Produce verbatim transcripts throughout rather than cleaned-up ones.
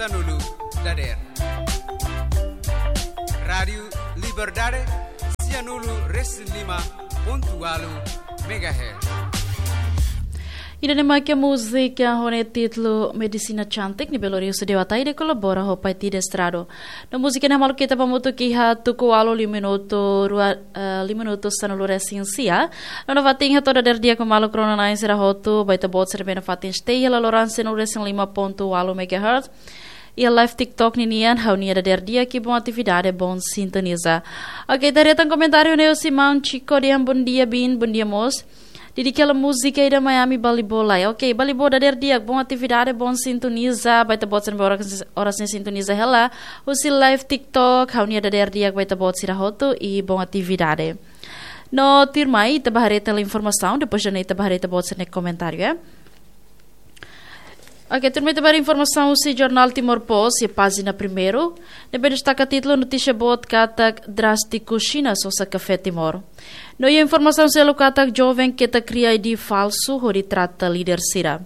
Sanulu dader. Rádiu Liberdade, sianulu resin lima pontu walu megahertz. Ida-ne'e mak múzika ho nia títulu Medisina Cantik, ne'ebé lori husi Dewa Taide kolabora ho Paitide Estrado. No múzika ne'e maluk ita hamutuk iha tuku ualu lima minutu rua, eh, lima minutu sanulu resin sia. No nafatin hato'o dader di'ak ba maluk rona-na'in sira hotu, ba ita-boot sira ne'ebé nafatin stay iha laloran sanulu resin lima pontu walu megahertz. Iha live TikTok ninian, ha'u-nia dader di'ak i bom atividade, bom sintoniza. Oke, ita haree tan komentáriu ne'e husi maun Chico dehan bom dia biin, bom dia mós. Di'ak hela múzika ida Miami Balibo lai. Oke, Balibo dader di'ak, bom atividade, bom sintoniza. Ba ita-boot sira ne'ebé oras, oras ne'e sintoniza hela husi live TikTok, ha'u-nia dader di'ak ba ita-boot sira hotu i bom atividade. No tuirmai ita bá haree tan informasaun, depois de ne'e ita bá haree ita-boot sira-nia komentáriu, eh. Oke, tuirmai ita bá haree informasaun husi jornál Timor Post iha pájina primeiru, ne'ebé destaka títulu notísia boot katak drástiku Xina sosa kafé Timor. No iha informasaun seluk katak joven ketak kria I D falsu hodi trata líder sira.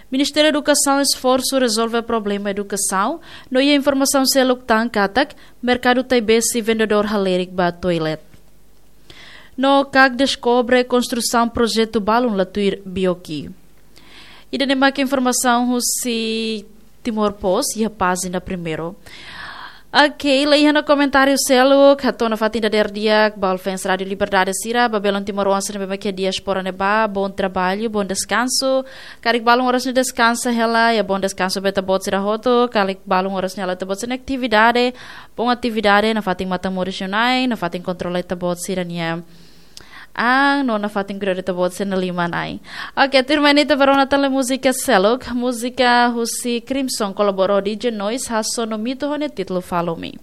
Ministériu Edukasaun esforsu rezolve problema edukasaun. No iha informasaun seluk tan katak merkadu Taibesi vendedór halerik ba toilet. No CAC deskobre konstrusaun projetu balun la tuir BOQ. Ida-ne'e mak informasaun husi Timor Post iha pájina primeiru. Oke, la iha ona komentáriu seluk, hato'o nafatin dader di'ak ba fans Rádiu Liberdade sira, ba belun timoroan sira ne'ebé mak iha diáspora ne'ebá, bom trabalho, bom descanso. Karik balun oras ne'e deskansa hela, iha bom deskanso ba ita-boot sira hotu, karik balun oras ne'e halo ita-boot sira-nia atividade, bom atividade, nafatin matan moris liu-na'in, nafatin kontrola ita-boot sira-nia an, no nafatin kuda ita-boot sira-nia liman-ain. Oke, tuirmai ne'e ita bá rona tan múzika seluk, múzika husi Crimson kolabora ho D J Noise, hasoru Mito ho nia títulu Follow Me.